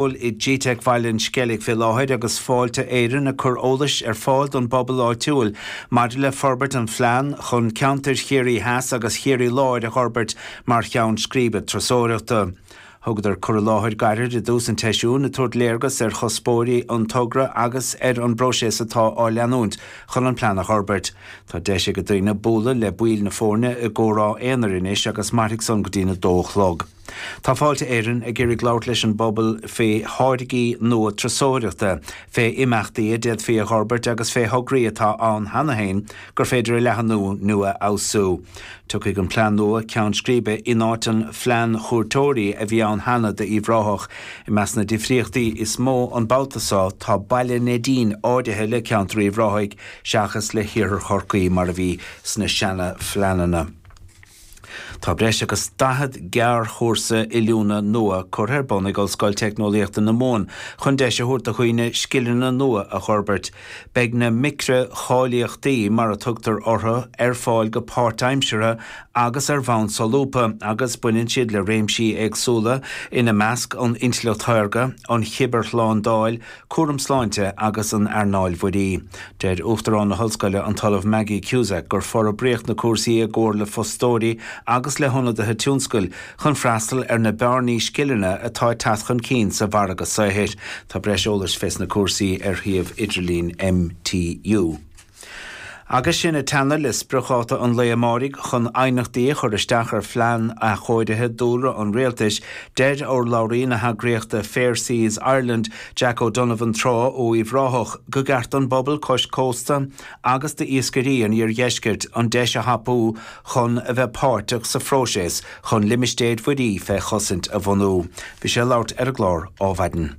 I gteic Bhaile an Sceilg fé láthair agus Fáilte Éireann ag cur eolais ar fáil don bpobal áitiúil maidir le forbairt an phlean chun ceantair Chiarraí Theas agus Chiarraí Láir a dh'fhorbairt mar cheann scríbe turasóireachta. Thugadar cur i láthair gairid i dtús an tseisiúin ag tabhairt léargas ar chuspóirí an togra agus ar an bpróiseas atá á leanúint chun an plean a dh'fhorbairt. Tá deis ag daoine bualadh le baill na foirne i gcomhrá aonair anois agus mairfidh san go dtí'n 2 a chlog. Tá Fáilte Éireann ag iarraidh labhairt leis an bpobal fé tháirgí nua turasóireachta, fé imeachtaí a d'fhéadfaí a dh'fhorbairt agus fé thograí atá ann cheana féin gur féidir a leathnú nó a fheabhsú. Tiocfaidh an plean nua ceann scríbe in áit an phlean chuairteoirí a bhí ann cheana d'Uíbh Ráthach. I measc na difríochtaí is mó an babhta so tá Baile Neidín áirithe le ceantar Uíbh Ráthaigh seachas le hiarthar Chorcaí mar a bhí sna seana-phleananna. Tá breis agus 40 gearrchúrsa oiliúna nua curtha ar bun ag Ollscoil Teicneolaíochta na Mumhan chun deis a thabhairt do dhaoine scileanna nua a dh'fhorbairt. Beidh na micreacháilíochtaí, mar a tugtar orthu, ar fáil go páirtaimseartha agus ar bhonn solúbtha agus baineann siad le réimsí éagsúla, ina measc an intleacht shaorga, an chibearshlándáil, cúram sláinte agus an earnáil mhuirí. Deir Uachtarán na hOllscoile, an tOllamh Maggie Cusack, gur forbraíodh na cúrsaí i gcomhar le fostóirí agus le hionadaithe tionscail chun freastal ar na bearnaí scileanna atá ag teacht chun cinn sa mhargadh saothair. Tá breis eolais fés na cúrsaí ar shuíomh idirlín MTU. Agus sinn ag teannadh le spriocdháta an lae amáirigh chun aighneachtaí a chur isteach ar phlean athchóirithe dúlra an rialtais, deir urlabhraí na heagraíochta Fair Seas Ireland, Jack O'Donovan Trá ó Uíbh Ráthach, go gceart don bpobal cois cósta agus d'iascairí an iardheiscirt an deis a thapú chun a bheith páirteach sa phróiseas chun limistéir mhuirí fé chosaint a bhunú. Bhí sé ag labhairt ar an gclár Ádhmhaidin.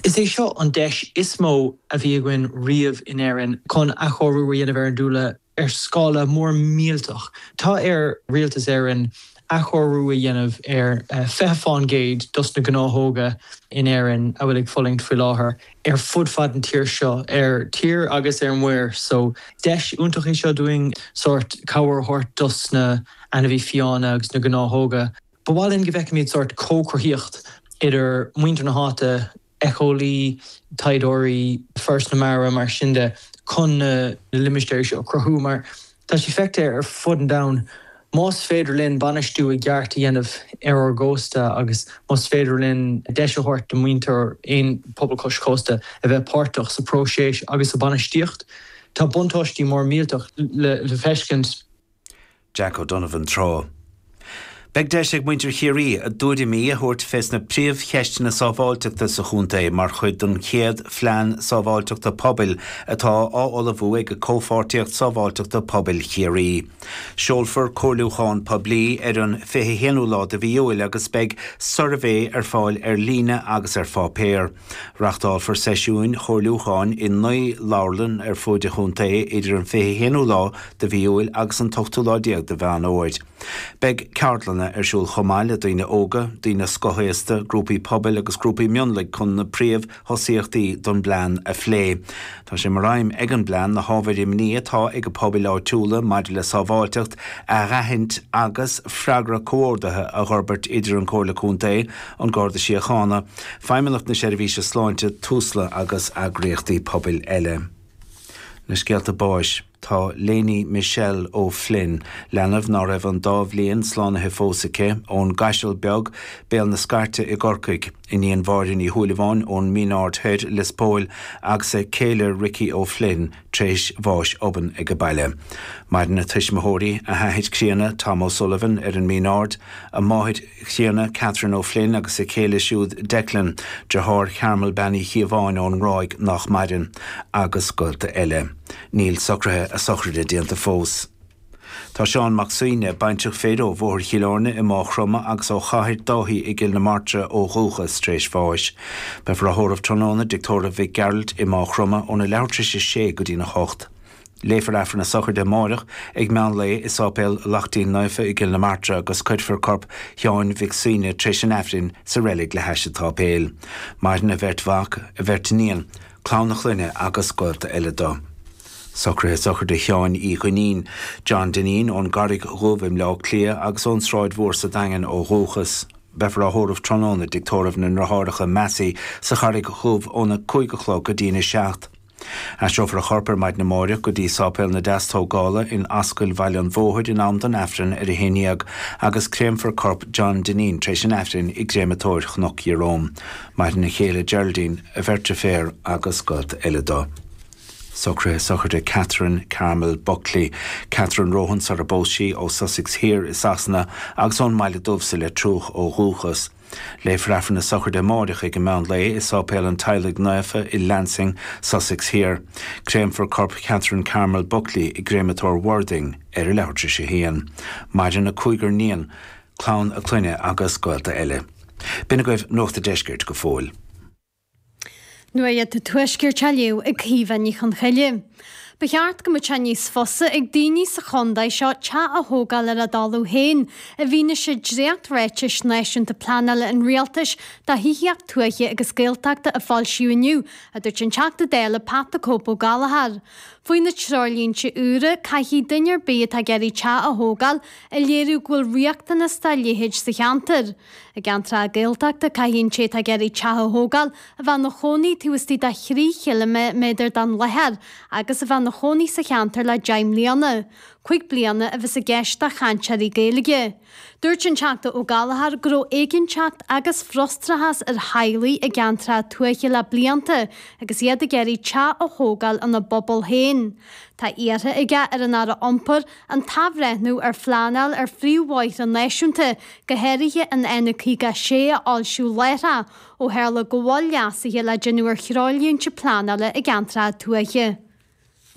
Is é seo an deis is mó a bhí againn riamh in Éirinn chun athchóiriú a dhéanamh ar an dúlra ar scála mór millteach. Tá ar Rialtas Éireann athchóiriú a dhéanamh ar 20 fán gcéad dos na gnáthóga in Éirinn a bhfuil ag fulaingt faoi láthair ar fud fad an tír seo, ar tír agus ar muir. So deis iontach é seo dúinn sórt cabhair a thabhairt dos na ainmhí fiáine agus na gnáthóga. Ba mhaith linn go bhfeicfimid sórt comhchruthaíocht idir muintir na háite, éiceolaí, taighdeoirí, Foras na Mara, mar sin de, chun na limistéirí seo a chruthú mar tá sé feicthe ar fud an domhain, más féidir linn bainistiú i gceart a dhéanamh ar ár gcósta agus más féidir linn deis a thabhairt do mhuintir aon pobal cois cósta a bheith páirteach sa próiseas agus sa bainistíocht, tá buntáistí mór millteach le feiscint. Jack O'Donovan Trá. Beidh deis ag muintir Chiarraí a dtuairimí a thabhairt fés na príomhcheisteanna sábháilteachta sa chontae mar chuid den chéad Phlean Sábháilteachta Pobail atá á ullmhú ag Comhpháirtíocht Sábháilteachta Pobail Chiarraí. Seolfar comhairliúchán poiblí ar an 21ú lá de mhí Iúil agus beidh suirbhé ar fáil ar líne agus ar pháipéar. Reachtálfar seisiúin chomhairliúcháin i 9 leabharlann ar fuaid an chontae idir an 21ú lá de mhí Iúil agus an t-ochtú lá déag de Mheán Fhómhair. Beidh ceardlanna ar siúl chomh maith le daoine óga, daoine scothaosta, grúpaí pobail agus grúpaí mionlaigh chun na príomh-thosaíochtaí don bplean a phlé. Tá sé mar aidhm ag an bplean na hábhair imní atá ag pobail áitiúla maidir le sábháilteacht a dh'aithint agus freagra comhordaithe a dh'fhorbairt idir an Comhairle Contae, An Garda Síochána, Feidhmeannacht na Seirbhíse Sláinte, Tusla agus eagraíochtaí pobail eile. Na scéalta báis. Tá Léiní Michelle O'Flynn, leanbh ná raibh an dá bhliain slánaithe fós aici, ón gCaiseal Beag, Béal na Scairte i gCorcaigh, iníon Mháire Ní Shúilleabháin ón Mín Aird Thoir, Lios Póil, agus a céile Ricky O'Flynn, tréis bháis obann ag baile. Maireann a tuismitheoirí, a hathair críonna, Tom O'Sullivan, ar an Mín Aird, a máthair chríonna, Catherine O'Flynn agus a céile siúd Declan, deartháir Chearmel Bean Uí Chíobháin ón nGráig nach maireann, agus gaolta eile. Níl socruithe a sochraide déanta fós. Tá Seán Mac Suibhne, baintreach fir ó Bhóthar Chill Airne i Máigh Chromtha agus ó Chathair Dáithí i gCill na Martra ó dhúchas, tar éis bháis. Beifear á thórramh tráthnóna i dTigh Tórraimh Mhic Gearailt i Máigh Chromtha óna leathuair tar éis a sé go dtína hocht. Léifear Aifreann na sochraide amáireach ag meán lae i Sáipéal Lachtaín Naofa i gCill na Martra agus cuirfear corp Sheáin Mhic Suibhne tar éis an Aifrinn sa reilig le hais an tsáipéil. Maireann a bheirt mhac, a bheirt iníon, clann a chlainne agus gaolta eile dó. Socruithe sochraide Sheáin Uí Dhuinnín, John Dineen, ón gCarraig Dhubh i mBleá Cliath agus ón Sráid Mhór sa Daingean ó dhúchas. Beifear á thórramh tráthnóna i dtigh tórraimh na nDriotháireacha Massey sa Charraig Dhubh óna 5 a chlog go dtína 7. Aistreofar a chorp ar maidin amáireach go dtí Sáipéal na Deastógála in Ascaill Bhaile an Bhóthair in am don Aifreann ar a 11 agus créamfar corp John Dineen tar éis an Aifrinn i gCréamatóir Chnoc Ieróm. Maireann a chéile Geraldine, a bheirt deirféar agus gaolta eile dó. Socruithe sochraide Catherine Carmel Buckley, Catherine Rohan sar a bpós sí, ó Sussex Thiar i Sasana agus ón mBaile Dubh sa Leitriúch ó dhúchas. Léifear Aifreann na sochraide amáireach ag an meán lae i Sáipéal an Teaghlaigh Naofa i Lancing, Sussex Thiar. Créamfar corp Catherine Carmel Buckley i gCréamatóir Worthing ar a leathuair tar éis a haon. Maireann a cúigear níon, clann a clainne agus gaolta eile. B'in agaibh Nuacht a' Deiscirt go fóill. Nuacht an Tuaiscirt á léamh ag Caoimhe Ní Chonchoille. Ba cheart go mbeadh sé níos fusa ag daoine sa chontae seo teach a thógáil ar a dtalamh féin, i bhfianaise dréacht-ráitis náisiúnta pleanála an Rialtais do thithíocht tuaithe agus Gaeltachta a foilsíodh inniu, a dúirt an Teachta Dála Pat 'The Cope' Ó Gallchóir. Faoi na treoirlínte úra, caithfidh duine ar bith atá ag iarraidh teach a thógáil a léiriú go bhfuil riachtanas dá leithéid sa cheantar. I gceantracha Gaeltachta, caithfidh an té atá ag iarraidh teach a thógáil a bheith ina chónaí taobh istigh de thrí chiliméadar den láthair agus a bheith ina chónaí sa cheantar le 10 mbliana. 5 bliana a bheas i gceist do chainteoirí Gaeilge. Dúirt an Teachta Ó Gallchóir go raibh éiginnteacht agus frustrachas ar theaghlaigh i gceantracha tuaithe le blianta agus iad ag iarraidh teach a thógáil ina bpobal féin. Tá iarrtha aige ar an Aire Iompair an t-athbhreithniú ar phleanáil ar phríomhbhóithre náisiúnta, go háirithe an N56 a fhoilsiú láithreach, ó tharla go bhfuil leasuithe le déanamh ar threoirlínte pleanála i gceantracha tuaithe.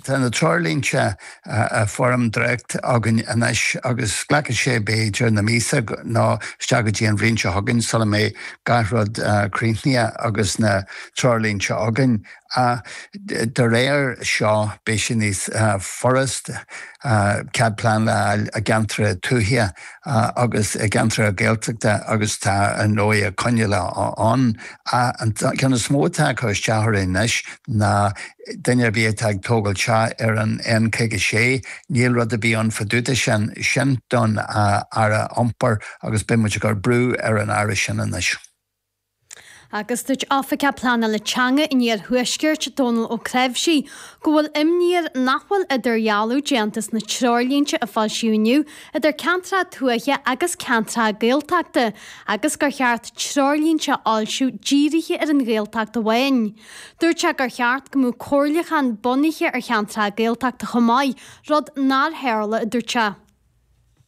Tá na treoirlínte i bhfoirm dréacht againn anois agus glacfaidh sé b'fhéidir na míosa nó isteach go dtí an bhliain seo chugainn sula mbeidh gach rud críochnaithe agus na treoirlínte againn. Ach de réir seo beidh sé níos furasta cead pleanála a fháil i gceantracha tuaithe agus i gceantracha Gaeltachta agus tá ar ndóigh coinníollacha ann. Ach an ceann is mó atá ag cur isteach orainn anois ná duine ar bith atá ag tógáil teach ar an N56, níl rud ar bith ann fá dtaobh de sin. Sin don Aire Iompair agus beidh muid ag cur brú ar an Aire sin anois. Agus dúirt Oifigeach Pleanála Teanga an Iarthuaiscirt, Dónal Ó Creabhsí, go bhfuil imní air nach bhfuil idirdhealú déanta sna treoirlínte a foilsíodh inniu idir ceantracha tuaithe agus ceantracha Gaeltachta agus gur cheart treoirlínte a fhoilsiú dírithe ar an Ghaeltacht amháin. Dúirt sé gur cheart go mbeadh comhairliúchán bunaithe ar cheantracha Gaeltachta chomh maith, rud nár tharla, a dúirt sé.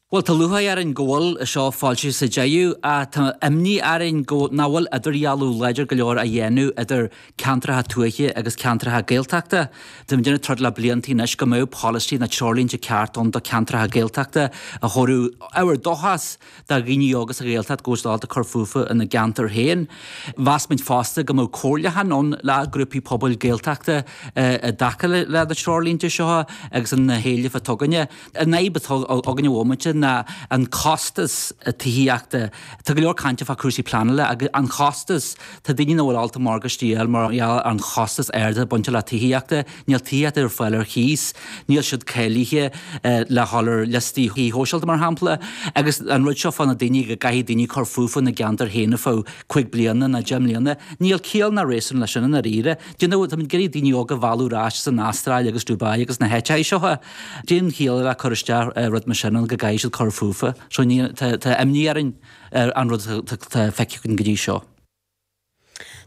Bhuel, tá lúcháir orainn go bhfuil seo foilsithe sa deireadh, ach tá imní orainn go nach bhfuil idirdhealú láidir go leor á dhéanamh idir ceantracha tuaithe agus ceantracha Gaeltachta. Tá muid ag troid le blianta anois go mbeadh polasaí nó treoirlínte ceart ann do cheantracha Gaeltachta a thabharfadh ábhar dóchais do dhaoine óga sa Ghaeltacht go bhfuil siad ábalta cur fúthu ina gceantar féin. Mheas muid fosta go mbeadh comhairliúchán ann le grúpaí pobail Gaeltachta i dtaca le na treoirlínte seo agus na héilimh atá againne. An fhadhb atá againn ar an bhomaite ná an costas tithíochta. Tá go leor cainte fá cúrsaí pleanála agus an chostas, tá daoine nach bhfuil ábalta morgáistí a fháil mar gheall ar an chostas ard atá bainte le tithíochta. Níl tithíocht ar fáil ar chíos, níl siad cáilithe le dhul ar liostaí thí shóisialta mar shampla. Agus an rud seo fá na daoine go gcaithfidh daoine cur fúthu ina gceantar féin ar feadh 5 bliana nó 10 mbliana, níl ciall ná réasún leis sin i ndáiríre. Do you know, táimid ag iarraidh daoine óga a mhealladh ar ais as an Astráil agus Dubai agus na háiteacha seo. Cén chiall le cur isteach rud mar sin ann go gcaithfidh siad cur fúthu. So ní, tá, tá imní orainn ar an rud atá feicthe againn go dtí seo.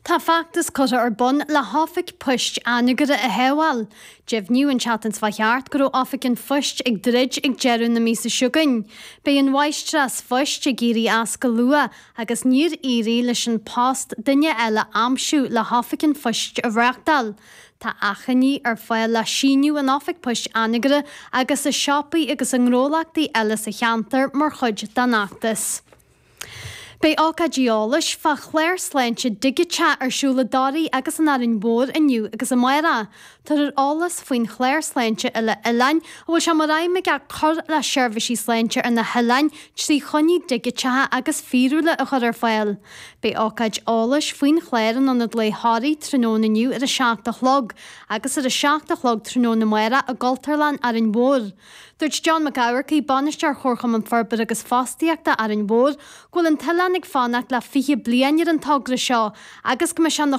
Tá feachtas curtha ar bun le hOifig Poist Anagaire a shábháil. Deimhníodh an tseachtain seo thart go raibh Oifig an Phoist ag druid ag deireadh na míosa seo chugainn. Beidh an mháistreás phoist ag éirí as go luath agus níor éirigh leis An Post duine eile a aimsiú le hOifig an Phoist a reáchtáil. Tá achainí ar fáil le síniú in Oifig Poist Anagaire agus i siopaí agus i ngnólachtaí eile sa cheantar mar chuid den fheachtas. Beidh ócáidí eolais fá chlár sláinte digiteach ar siúl i dToraigh agus in Árainn Mhór inniu agus amárach. Tabharfar eolas faoin chlár sláinte uile-oileáin a bhfuil sé mar aidhm aige cur le seirbhísí sláinte ar na hoileáin trí choinní digiteacha agus fíorúla a chur ar fáil. Beidh ócáid eolais faoin chlár in Ionad Lae Thoraí tráthnóna inniu ar a 7 a chlog agus ar a 7 a chlog tráthnóna amárach i gCultúrlann Árainn Mhór. Dúirt John Mac Eamharcaigh, Bainisteoir Chomharchumann Forbartha agus Fostaíochta Árainn Mhór, go bhfuil an t-oileán. Riachán ag fanacht le 20 bliain ar an togra seo agus go mbeidh sé ina.